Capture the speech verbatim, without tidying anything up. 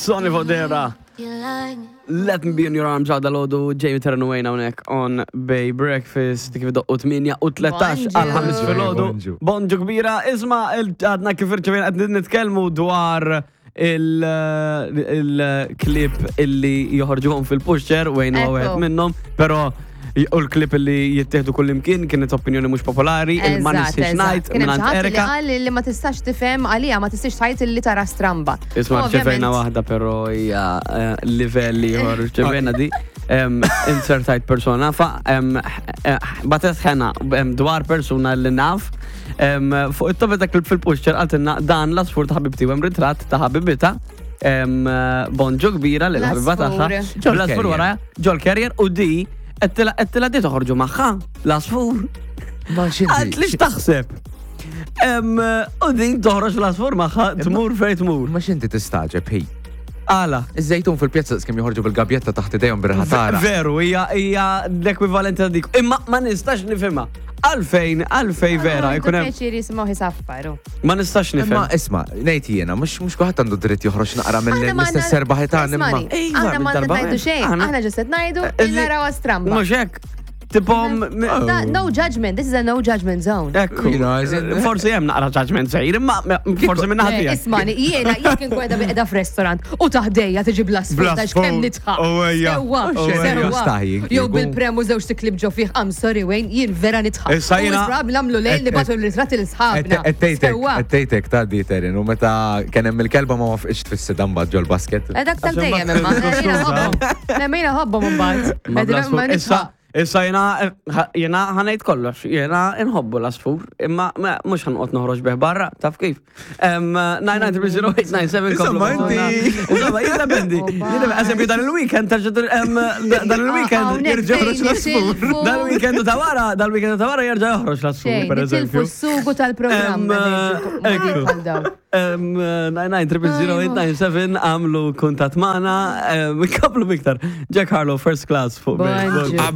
Sonny Fodera. Let Me Be in Your Arms għada l-ħodu Jamie Terran hawnhekk on Bay Breakfast kif doqqu tmienja u tlettax għal ħames filgħodu. Bonġu. Bonġu kbira, isma', għadna kif irċevejna, qed nitkellmu dwar il-clip illi joħorġuhom fil-pusher u għajnu Ekku. għed minnhom, pero u l-clip illi jittieħdu kull imkien kienet opinjoni mhux popolari, il-ma Eżatt, nistax eżatt. ngħid Kien hemm mingħand xi ħadd li Erika. qal li ma tistax tifhem għalija ma tistax tgħid li tara stramba. Isma', U rċevejna ovvjament- waħda, pero hija eh, livell ieħor, rċevejna di em, insertajt persona fa em, eh, batet ħena em, dwar persuna li naf em, fuq it-topic ta' clip fil-pusher, qaltilna dan l-asfur ta' ħabibti u hemm ritratt ta' ħabibita em, bonġu kbira lil ħabiba tagħha. L-asfur. L-asfur wara ġol carrier u di għedtilha di toħorġu magħha l-asfur. Ma xinti. Għalt li x'taħseb? Em, U din toħroġ l-asfur magħha tmur fejn tmur. Ma xinti tistaġeb, hi. Għala. Iż-żejtun fil-pjazza kemm joħorġu bil-gabjetta taħt idejhom bir-ħatara. Veru, hija hija l-ekwivalenti ta' dik. Imma ma nistax nifhimha. Għalfejn, għalfejn vera, Ah, jkun hemm. Pjaċir jisimgħu jisaffaru. Ma nistax Imma nifhem. isma', ngħid jiena, mhux mhux kulħadd għandu dritt joħroġ naqra Aħna ma mill-istess għandna- serbaħ tagħna imma. Ismani, Iva, aħna ma minn darba ngħidu xejn, Aħna- aħna ġust qed ngħidu Eh, il naraw stramba. Mhux hekk. Tipo, m- Da- No judgment, this is a no judgment zone. Ekku. You know, as in- Forsi hemm naqra judgment sejr, imma forsi minn Le, ħadd. Ismani, jiena jekk inkun qiegħda qiegħda f'restaurant u taħdejja tiġi bl-asfur Bl-asfur. ta' kemm nidħaq. Oh, ejja. Sewwa, Oh, ejja. sewwa. Staħi, Jew kieku. bil-premu żewġ tiklib ġo fih, I'm sorry Wayne, jien vera nidħaq. Issa jiena- U probabbli nagħmlu lejl nibagħtu l-ritratti lil sħabna. Ettejtek, Sewwa. ettejtek ta' di Terin, u meta kien hemm il-kelba ma wafqitx tfissi dan ġol basket. Eh, dak tal-dejjem imma. Jiena ħobbhom. Le, ma jiena ħobbhom imbagħad. Ma bl-asfur. Ma Issa, nidħaq. issa jena, jena ħa ngħid kollox, jena nħobbu l-asfur, imma ma- mhux ħa noqgħod noħroġ bih barra, taf kif. nine nine three zero eight nine seven. Insomma, inti- Insomma, jiddependi. Jiddependi. Eżempju, dan il-weekend, terġa' em, dan il-weekend, Hawnhekk jerġa' joħroġ fejn l-asfur. nitilfu- Dan il-weekend ta' wara, dan il-weekend ta' wara jerġa' joħroġ l-asfur, Xejn, per nitilfu eżempju. s-sugu tal-programm. Em, ekku. Bħal dawn. nine nine three zero eight nine seven, għamlu kuntatt magħna, kaplu miktar. Jack Harlow, First Class fuq Bay. Bonġu.